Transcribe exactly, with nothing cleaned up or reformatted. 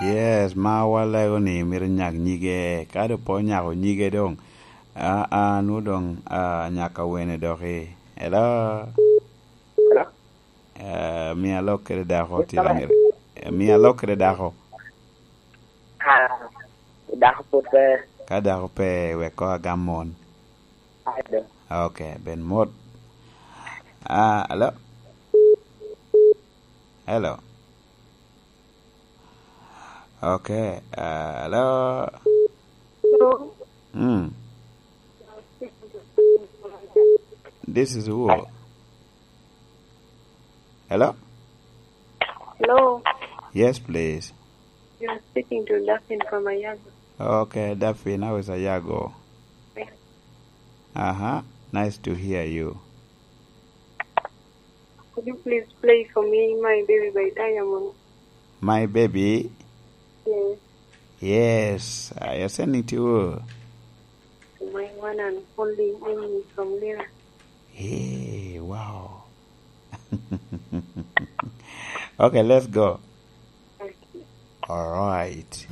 Yes, ma walego ni myero nyak nyige, ka doŋ pe onyako nyige doŋ, aa, nwo doŋ, aa, nyaka wene doki. Hello? Hello? Eh, mia lok kede dako, tira myero. Eh, mia lok kede dako. Ah, dako pwod pe. Ka dako pe, wek koŋ agam mon. Ai do. Ok, ben mot. Ah, hello? Hello? Ok, ah, hello? Hello? Mm. This is who? Hello? Hello? Yes, please. You are speaking to Daphne from Ayago. Okay, Daphne, how is Ayago? Fine. Uh-huh. Nice to hear you. Could you please play for me My Baby by Diamond? My Baby? Yes. Yes, I send it to you. My one and only Amy from Lira. Hey, wow. Okay, let's go. Okay. All right.